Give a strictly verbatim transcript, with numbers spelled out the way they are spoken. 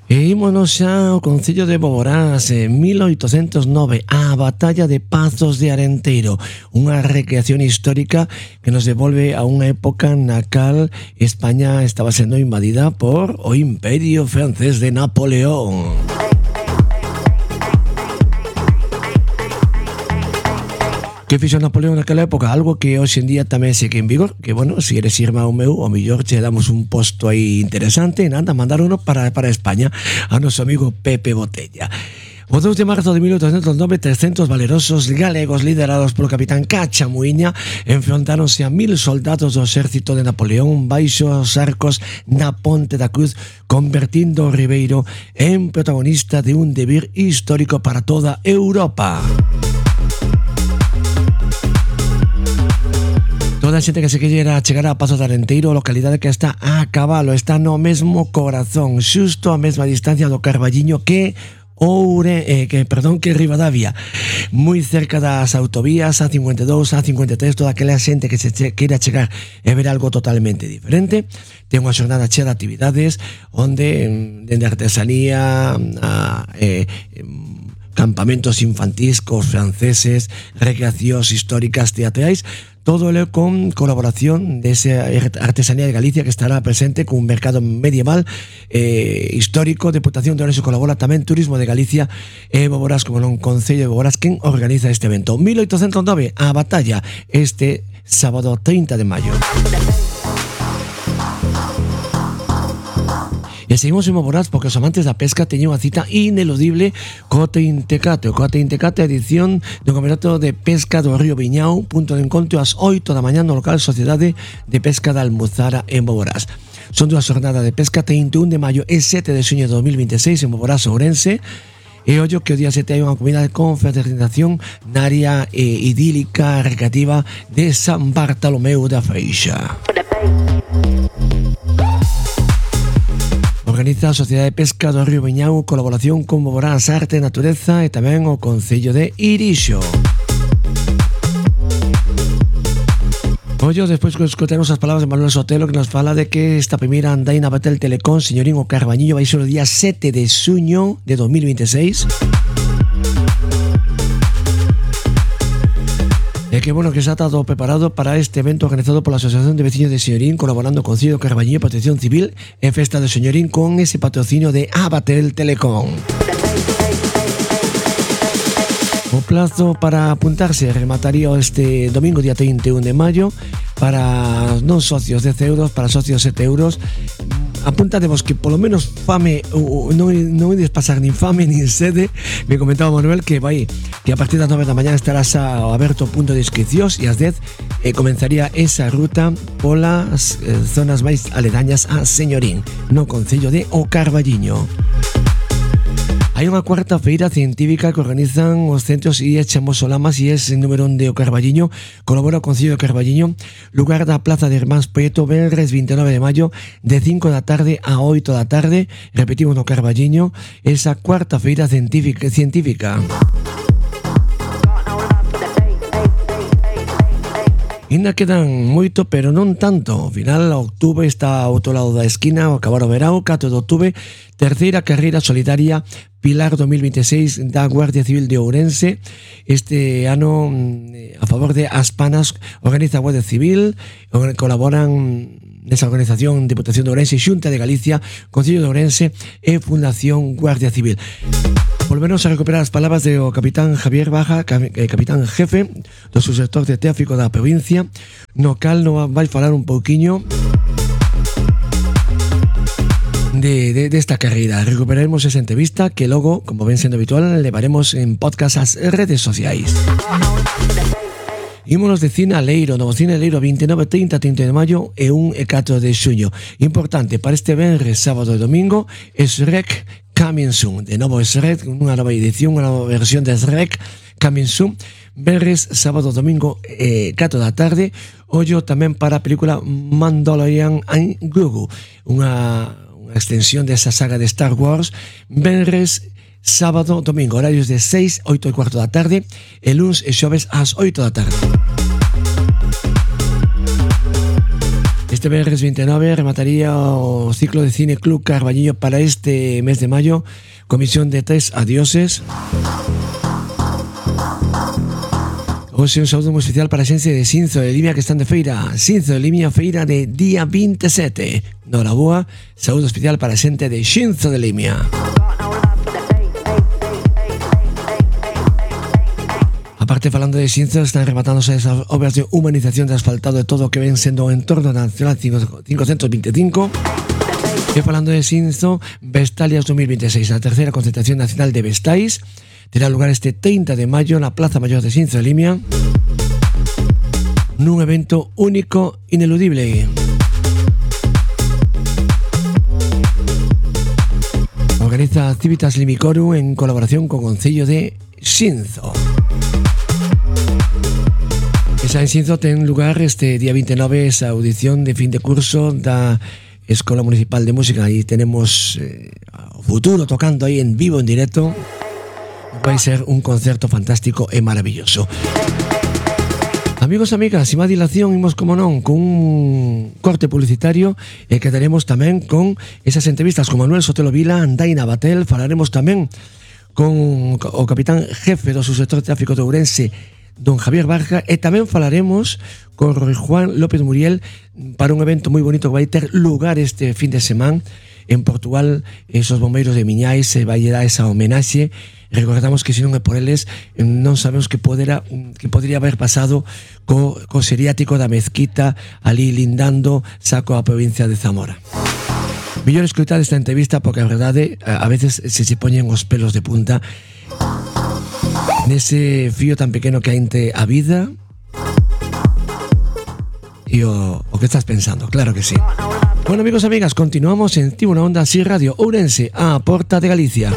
E ímonos xa ao Concello de Boborás en mil oitocentos nove, a Batalla de Pazos de Arenteiro, unha recreación histórica que nos devolve a unha época na cal España estaba sendo invadida por o Imperio Francés de Napoleón. Que fixo Napoleón naquela época? Algo que hoxe en día tamén segue en vigor, que, bueno, se eres irmão meu, o mellor che damos un posto aí interesante, e nada, mandar uno para, para España, a noso amigo Pepe Botella. O dous de marzo de mil oitocentos nove, trescentos valerosos galegos liderados polo capitán Cachamuiña enfrontáronse a mil soldados do exército de Napoleón baixo os arcos na Ponte da Cruz, convertindo o Ribeiro en protagonista de un devir histórico para toda Europa. Toda a xente que se queira chegar a Pazos de Arenteiro, localidade que está a cabalo, está no mesmo corazón, xusto a mesma distancia do Carballiño que Oure, eh, que, perdón, que Ribadavia, moi cerca das autovías A cincuenta e dous, A cincuenta e tres, toda aquela xente que se che, queira chegar e ver algo totalmente diferente. Ten unha xornada chea de actividades onde, dende artesanía a eh, campamentos infantís cos franceses, recreacións históricas teatrais, todo lo con colaboración de esa artesanía de Galicia que estará presente con un mercado medieval eh, histórico. Deputación de Ourense colabora tamén Turismo de Galicia e Boborás, como non Concello de Boborás, quen organiza este evento. mil oitocentos nove, a batalla, este sábado trinta de maio. E seguimos en Boborás porque os amantes da pesca teñen unha cita ineludible co Teintecate. O co Teintecate, edición do Campeonato de Pesca do Río Viñao, punto de encontro ás oito da mañá no local Sociedade de Pesca da Almuzara en Boborás. Son dúas jornadas de pesca, trinta e un de maio e sete de xuño de dos mil veintiséis en Boborás, Ourense. E ollo que o día sete hai unha comida de confraternización na área eh, idílica recreativa de San Bartolomeu da Freixa. Organiza a Sociedade de Pesca do Río Viñao, colaboración con Boborás, Arte e Natureza e tamén o Concello de Irixo. Ollo, despois que escoitemos as palabras de Manuel Sotelo, que nos fala de que esta primeira andaina Batel Telecom Señorín o Carballiño vai ser o día sete de xuño de dos mil veintiséis. E que bueno que xa está todo preparado para este evento organizado pola Asociación de Veciños de Señorín, colaborando con Concello Carballiño e Protección Civil en Festa de Señorín con ese patrocinio de Abatel Telecom. O plazo para apuntarse remataría este domingo día trinta e un de maio para non socios dez euros, para socios sete euros. Apuntademos que polo menos fame non, non ides pasar nin fame nin sede. Me comentaba Manuel que vai que a partir das nove da mañá estará xa aberto o punto de inscricións e ás dez eh, comenzaría esa ruta polas eh, zonas máis aledañas a Señorín, no Concello de O Carballiño. Hai unha cuarta feira científica que organizan os centros I E Chamosolamas e es en número un de O Carballiño. Colabora o Concello de Carballiño, lugar da Plaza de Hermans Prieto, venres vinte e nove de maio, de cinco da tarde a oito da tarde. Repetimos no Carballiño, esa cuarta feira científica. científica. Ainda quedan moito, pero non tanto. Ao final, outubro está ao outro lado da esquina, ao acabar o verao, catro de outubro, terceira carreira solidaria Pilar dos mil veintiséis da Guardia Civil de Ourense. Este ano, a favor de Aspanas, organiza a Guardia Civil, colaboran nesa organización Deputación de Ourense, Xunta de Galicia, Concello de Ourense e Fundación Guardia Civil. Volveremos a recuperar as palabras do capitán Javier Baja, capitán jefe do subsector de tráfico da provincia, no cal nos vai falar un pouquiño de, de, de esta carreira. Recuperaremos esa entrevista que logo, como ven sendo habitual, levaremos en podcast ás redes sociais. Ímonos de Cine Aleiro, novo Cine Aleiro vinte e nove, trinta, trinta de maio e un e catro de xuño. Importante, para este venres, sábado e domingo, Shrek Coming Soon. De novo Shrek, unha nova edición, unha nova versión de Shrek Coming Soon. Venres, sábado, domingo, eh, catro da tarde. Ollo tamén para a película Mandalorian and Grogu, unha, unha extensión desa saga de Star Wars. Venres, sábado, domingo, horarios de seis, oito e cuarto da tarde, e luns e xoves ás oito da tarde. Este Este venres veintinueve remataría o ciclo de Cine Club Carballiño para este mes de mayo, comisión de tres adioses. Hoxe un saúdo moi especial para a xente de Xinzo de Limia que están de feira. Xinzo de Limia, feira de día veintisiete. Noraboa, saúdo especial para a xente de Xinzo de Limia. Aparte, falando de Xinzo, están rematándose esas obras de humanización de asfaltado de todo o que ven sendo o entorno nacional quinientos veinticinco. E falando de Xinzo, Vestalias dos mil veintiséis, a terceira concentración nacional de Vestais, terá lugar este treinta de maio na Plaza Mayor de Xinzo de Limia, nun evento único, ineludible. Organiza Civitas Limicorum en colaboración con o Concello de Xinzo. Esa en Xinzo ten lugar este día veintinueve esa audición de fin de curso da Escola Municipal de Música. Aí tenemos eh, o futuro tocando aí en vivo, en directo. Vai ser un concerto fantástico e maravilloso. Amigos e amigas, sin máis dilación, imos como non con un corte publicitario e quedaremos tamén con esas entrevistas con Manuel Sotelo Vila, Andaina Batel. Falaremos tamén con o capitán jefe do subsector de tráfico de Ourense, don Javier Barja, e tamén falaremos con Juan López Muriel para un evento moi bonito que vai ter lugar este fin de semana en Portugal. Esos bombeiros de Miñais se vai dar esa homenaxe. Recordamos que se non é por eles non sabemos que podera, que podría haber pasado co, co seriático da Mezquita ali lindando saco a provincia de Zamora. Mellor escoitar esta entrevista porque a verdade a veces se se poñen os pelos de punta nese fío tan pequeno que hai entre a vida e o, o que estás pensando, claro que sí. Bueno, amigos e amigas, continuamos en Tibo na Onda, así Radio Ourense, a porta de Galicia.